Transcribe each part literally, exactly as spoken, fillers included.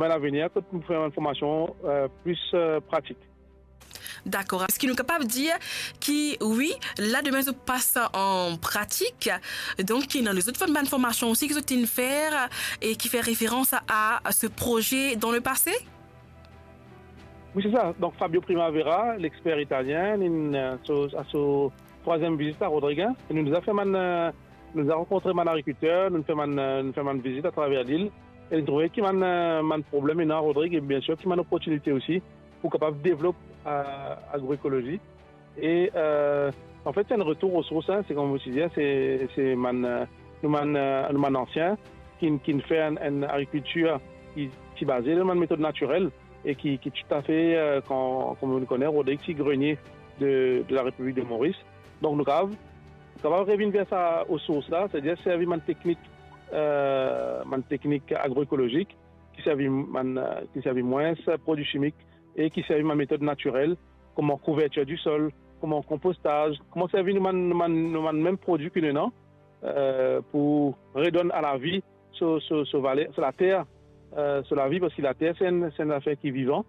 Bann lavenir, kot nou fer bann formasion, eh, plis, eh, pratik. Dakor. Eski nou kapav dir ki, wi, la demin zot pas an pratik, donk ki ena lezot bann formasion osi ki zot inn fer e ki fer referans a, a se proze dan lepase? Wi, se sa. Donk, Fabio Primavera, lexper italien, linn, eh, so, a so trwaziem vizit a Rodrig, e nou deza fer bann, eh, nou deza rankontre bann agrikilter, nou fer bann, eh, nou fer bann vizit atraver lil, e nou trouve ki bann, eh, bann problem ena Rodrig, e biensir ki bann loportinite osi pou kapav devlop, eh, agroekolozi. E, eh, anfet, se enn retour o sours, hein, se kouma mo ti dir, se, se bann, eh, nou bann, eh, nou bann ansien ki, ki fer enn, enn agrikiltir ki, ki baze lor bann metod natirel e ki, ki toutafe, eh, kan, kouma nou kone, Rodrig ti grenie de, de la Repiblik de Moris. Donk, nou kapav, nou kapav revinn ver sa o sours la, setadir servi bann teknik, eh, bann teknik agroekolozik, ki servi bann, eh, ki servi mwins prodwi simik e ki servi bann metod natirel, kouma kouvertir di sol, kouma konpostaz, kouma servi nou bann, nou bann, nou bann mem prodwi ki nou ena, eh, pou redonn a lavi so, so, so valer, so later, eh, so lavi, parski later se enn, se enn zafer ki vivan.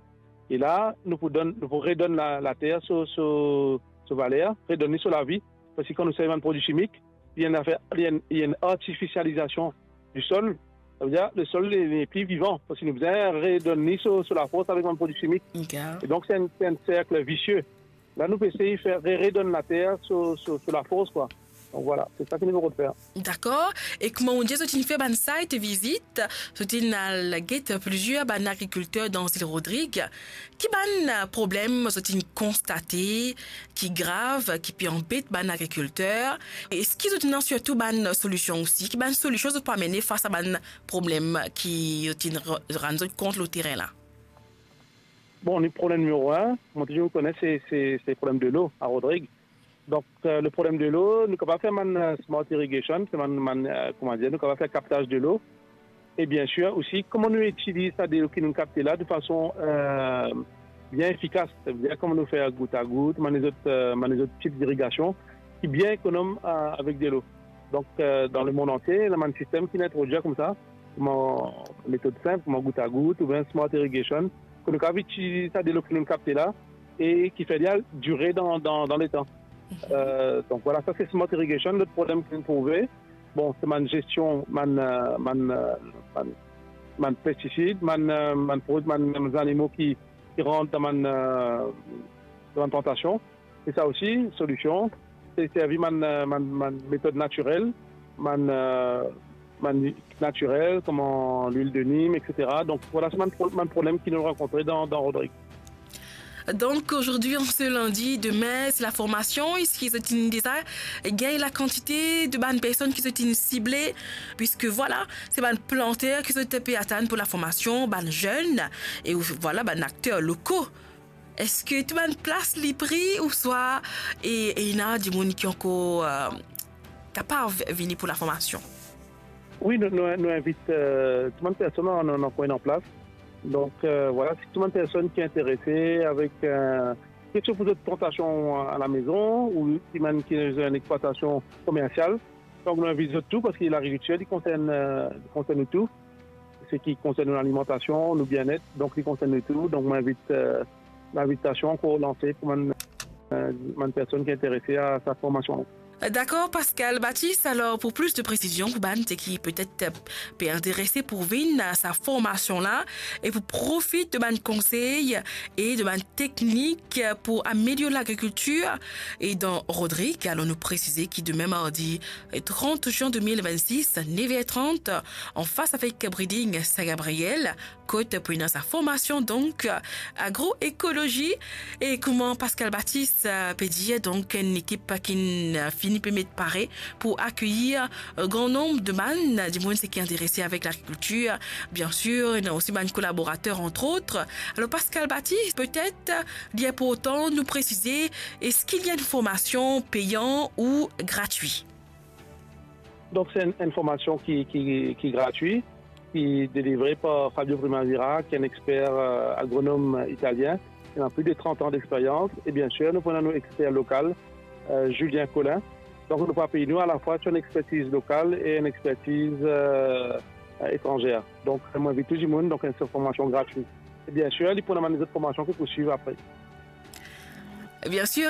E la, nou pou donn, nou pou redonn la, later so, so, so valer, redonn li so lavi, parski kan nou servi bann prodwi simik, li enn zafer, li enn, li enn artifisializasion di sol. Savedir, le sol li, li nepli vivan, parski nou bizin redonn li so, so lafors avek bann prodwi simik. Dakor. E donk, se enn, se enn serk visie. La, nou pe esey fer re-, redonn later so, so, so lafors, kwa. Donk, vwala, se sa ki nou pe fer. Dakor. E kouma ou dir, zot inn fer bann site vizit, zot inn al get plizier bann agrikilter dan zil Rodrig. Ki bann, eh, problem zot inn konstate ki grav, ki pe anbet bann agrikilter? Eski zot ena sirtou bann solision osi? Ki bann solision zot pou amene fas a bann problem ki zot inn ra-, rann zot kont lor terin la? Bon, le problem nimero enn, mo toultan kone, se, se, se problem delo a Rodrig. Donk, eh, le problem delo, nou kapav fer bann, eh, smart irrigation, se bann, bann, eh, kouma dir, nou kapav fer kaptaz delo. E biensir osi, kouma nou itiliz sa delo ki nou kapte la de fason, eh, bien efikas. Savedir, kouma nou fer gout a gout, bann lezot, eh, bann lezot tip dirigasion ki bien ekonom, eh, avek delo. Donk, eh, dan lemond antie, ena bann sistem ki inn introdwir koumsa, kouma metod sinp, kouma gout a gout oubien smart irrigation, ki nou kapav itiliz sa delo ki nou kapte la e ki fer li al dire dan, dan, dan letan. Eh, donk, vwala, sa se smart irrigation. Lot problem ki nou trouve, bon, se bann zestion, bann, eh, bann, eh, bann, bann pestisid, bann, eh, bann prodwi, bann, bann zanimo ki, ki rant dan bann, eh, dan bann plantasion. E sa osi, solision, se servi bann, eh, bann, bann metod natirel, bann, eh, bann natirel, kouma lwil de nim, et cetera. Donk, vwala, se bann pro-, bann problem ki nou rankontre dan, dan Rodrig. Donk, ozordi, an se lindi, demin, se laformasion. Eski zot inn deza gagn lakantite de bann personn ki zot inn sible? Piske, vwala, se bann planter ki zot pe atann pou laformasion, bann zenn, e, vwala, bann akter loko. Eski tou bann plas li pri ouswa, e, e ena dimoun ki ankor, eh, kapav vini pou laformasion? Wi, nou, nou, nou invit, eh, tou bann personn, nou, nou, nou ena plas. Donk, eh, vwala, si tou bann personn ki interese avek, eh, ki ti pou zot plantasion a lamezon, ou ki bann ki ena enn explwatasion komersial, donk nou invit zot tou, paski lagrikiltir, li konsern, eh, li konsern nou tou. Seki konsern nou lalimantasion, nou bienet, donk li konsern nou tou. Donk, mo invit, eh, linvitasion ankor lanse pou bann, eh, bann personn ki interese a sa formasion. Dakor, Pascal Baptiste. Alor, pou plis de presizion, pou bann seki petet pe interese pou vinn a sa formasion la, e pou profit de bann konsey e de bann teknik pou amelior lagrikiltir e dan Rodrig, alor nou presize ki demin mardi trant zin de mil vennsis, nef er trant, anfas avek Breeding Saint-Gabriel, kot pou ena sa formasion, donk, agroekolozi. E kouma Pascal Baptiste, eh, pe dir, donk, enn ekip ki'nn, eh, fini pe met pare pou akeyir, eh, gran nonb de bann, eh, dimoun seki interese avek lagrikiltir. Biensir, ena osi bann kolaborater, antrot. Alor, Pascal Baptiste, petet, eh, li inportan nou presize, eski li enn formasion peyan ou gratwi? Donk, se enn, enn formasion ki, ki, ki gratwi, ki delivre par Fabio Primavera, ki enn exper, eh, agronom italien, ki ena plis de trant an dexperyans. E biensir, nou pou ena nou exper lokal, eh, Julien Collin. Donk, nou pou apiy nou alafwa sir enn expertiz lokal e enn expertiz, eh, etranzer. Donk, mo invit tou dimoun, donk, enn formasion gratwi. E bien sir, li pou ena bann lezot formasion ki pou swiv apre. Bien sir,